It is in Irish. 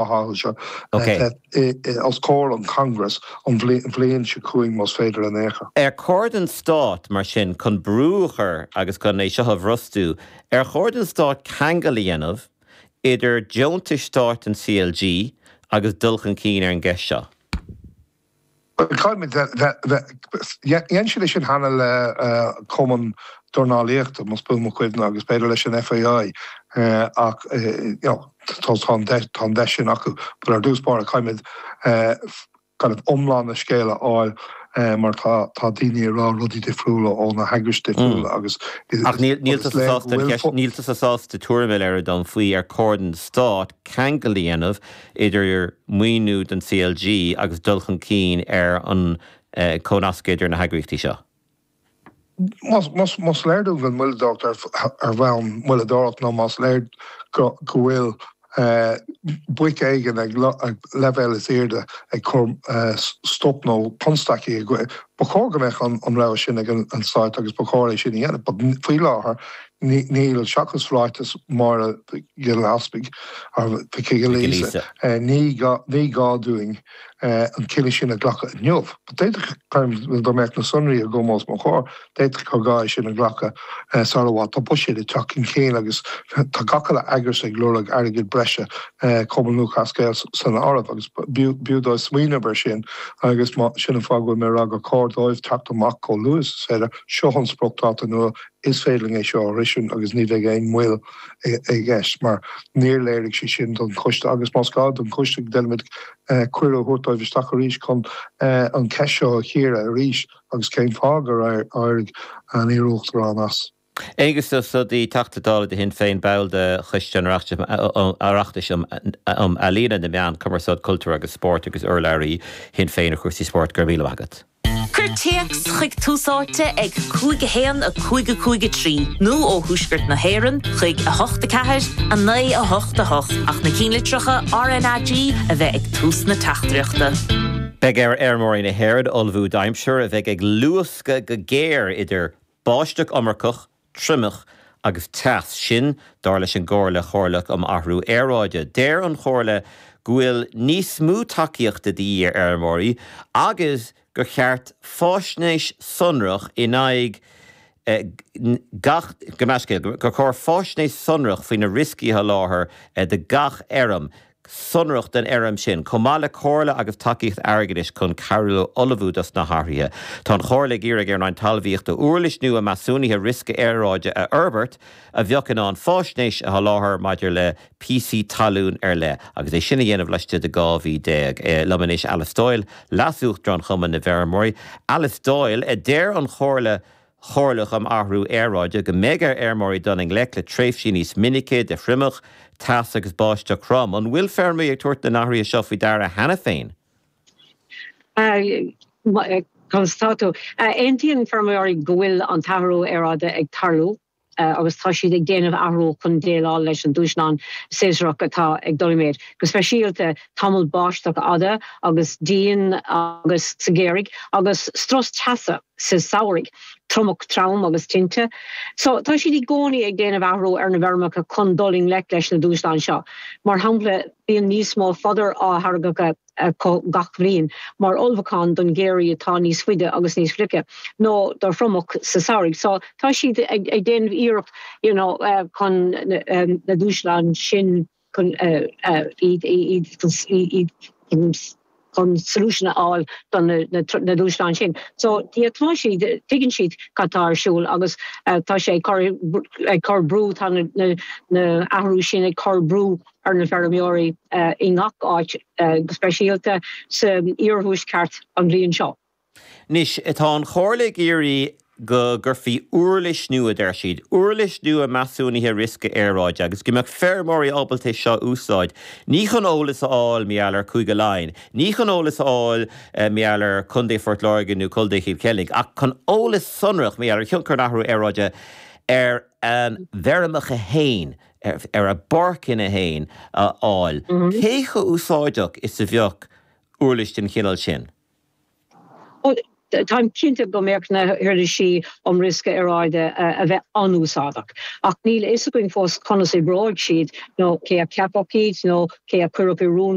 Comhtháthaithe seo bheith os comhair an Congress an bhliain seo chugainn más féidir in aon chor. Ar chóir don Stát, mar sin, chun brú a chur agus chun é seo a bhrostú, ar chóir don Stát ceangal a dhéanamh idir deontais stáit an CLG agus dul chun cinn ar an gceist seo? Caithfimid bheith, dhein siad é sin cheana le Cumann Dornálaíochta, más buan mo chuimhne, agus b'fhéidir leis an FAI ach you know tá an deis, tá an deis sin acu. But ar dtús báire caithfimid kind of iomlán na scéala a fháil mar tá tá daoine ag rá rudaí difriúla ó na heagrais difriúla agus Ach níl níl tusa sásta an cheist, níl tusa sásta tuairim a léiriú dom faoi ar chóir don Stát ceangal a dhéanamh idir maoiniú don CLG agus dul chun cinn ar an chomhnascadh idir na heagraíochtaí seo. Más léir dúinn go bhfuil moilleadóireacht ar bhonn moilleadóireacht nó más léir go bhfuil boic éigin ag leibhéal is airde ag cur stop nó constaicí i ba chóir go mbeadh an rogha sin ag an Stát agus ba chóir é sin a dhéanamh. But faoi láthair níl, seachas ráiteas Máire Mhic Giolla Easpaig, Mhic Giolla Íosa, ní gá dúinn an cinneadh sin a ghlacadh inniu. D'fhéadfadh, dá mbeadh na sonraí agam os mo chomhair, d'fhéadfadh gur gá é sin a ghlacadh sar i bhfad. Tá buiséad ag teacht chun cinn agus tá gach uile eagras ag lorg airgead breise, Cumann Lúthchleas Gael san áireamh, agus b'fhiú dóibh smaoineamh air sin agus sin an fáth go bhfuil mé ag rá gur chóir dóibh teacht amach chomh luath is is féidir. Seo an spriocdháta nua. Is féidir linn é seo a shroisint agus ní bheidh aon mhoill i gceist mar níor léirigh sé sin don choiste agus más gá don choiste déanfaimid cuireadh a thabhairt dóibh isteach arís chun an cheist seo a chíoradh arís agus cén fáth gur éirigh an iar-uachtarán as. Aengus Ó Snodaigh, Teachta Dála do Shinn Féin, ball de Choiste an Oireachtais um Ealaíona, na Meáin, Cumarsáid, Cultúr agus Spórt agus urlabhraí Shinn Féin ar chúrsaí spóirt. Go raibh míle maith agat. Cuir téacs chuig Tús Áite ag 5 1 5 5 3 nó ó Thuaisceart na hÉireann chuig 8 4 9 8 8 ach na cinnlitreacha RnaG a bheith ag tús na teachtaireachta. Beidh ar fheirmeoirí na hÉireann ullmhú d'aimsir a bheidh ag luascadh go géar idir báisteach iomarcach, triomach agus teas, sin dar leis an gComhairle Chomhairleach um Athrú Aeráide. Deir an Chomhairle go bhfuil níos mó tacaíochta de dhíth ar fheirmeoirí agus gur cheart faisnéis sonrach in aghaidh gach, gabh mo leithscéal, gur chóir faisnéis sonrach faoi na rioscaí a sholáthar do gach fheirm. sonrach don fheirm sin, chomh maith le comhairle agus tacaíocht airgeadais chun cabhrú leo ullmhú dos na hathruithe. Tá an Chomhairle ag iarraidh ar an Roinn Talmhaíochta uirlis nua measúnaithe riosca aeráide a fhorbairt a bheadh in ann faisnéis a sholáthar maidir le píosaí talún ar leith, agus é sin a dhéanamh laistigh de 12 mhí. Liom anois Alice Doyle, Leas-Uachtarán Chumann na bhFeirmeoirí. Alice Doyle, deir an Chomhairle Chomhairleach um Athrú Aeráide go mbeidh ar fheirmeoirí dul i ngleic le tréimhsí níos minice de thriomach, teas agus báisteach throm. An bhfuil feirmeoirí ag tabhairt na n-athruithe seo faoi deara cheana féin? Conas tá tú? Aontaíonn feirmeoirí go bhfuil an t-athrú aeráide ag tarlú agus tá siad ag déanamh athrú chun déileáil leis an dúshlán séasúrach atá ag dul i méid, go speisialta tamall báisteach fhada agus dian agus sa gheimhreadh agus strus teasa. sa samhradh, triomach trom agus tinte. So, tá siad i gcónaí ag déanamh athrú ar na bhfeirmeacha chun dul i ngleic leis na dúshláin seo. Mar shampla, bíonn níos mó fodar á tháirgeadh acu gach bhliain mar ullmhúchán don gheimhreadh atá níos faide agus níos fliche, nó do thriomach sa samhradh. So, tá siad ag déanamh iarracht you know chun na dúshláin sin chun iad iad chun solution a fháil do na dúshláin sin. So yeah tá siad, tuigeann siad cad tá ar siúl agus tá sé ag cur ag cur brú, tá na na athrú sin ag cur brú ar na feirmeoirí i ngach áit, go speisialta sa iarthuaisceart an bhliain seo. Anois, tá an Chomhairle ag iarraidh go gcuirfí uirlis nua, deir siad, uirlis nua measúnaithe riosca aeráide agus go mbeadh feirmeoirí ábalta é seo a úsáid, ní chun eolas a fháil mar gheall ar Chúige Laighean, ní chun eolas a fháil mar gheall ar Chontae Phort Láirge nó Contae Chill Chainnigh, ach chun eolas sonrach mar gheall ar thionchar an athrú aeráide ar a bhfeirmeacha féin, ar a bpáirceanna féin a fháil. Cé chomh úsáideach is a bheadh uirlis den chineál sin? Táim cinnte go mbeadh na huirlisí um riosca aeráide a bheith an-úsáideach, ach níl a fhios againn fós conas oibreoidh siad nó cé a cheapfadh iad nó cé a chuirfeadh i rún.